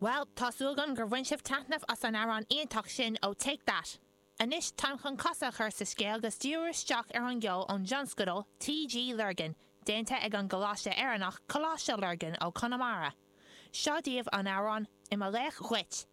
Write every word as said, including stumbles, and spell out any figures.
Well, tá súil agam gur bhain sibh taitneamh as an amhrán iontach sin ó Take That. Anois táim chun casadh a chur sa scéal agus díriú isteach ar an gceol ón dtionscadal TG Lurgan, déanta ag an gColáiste Éireannach Coláiste Lurgan ó Conamara. Seo daoibh an amhrán I mo laoch dhuit.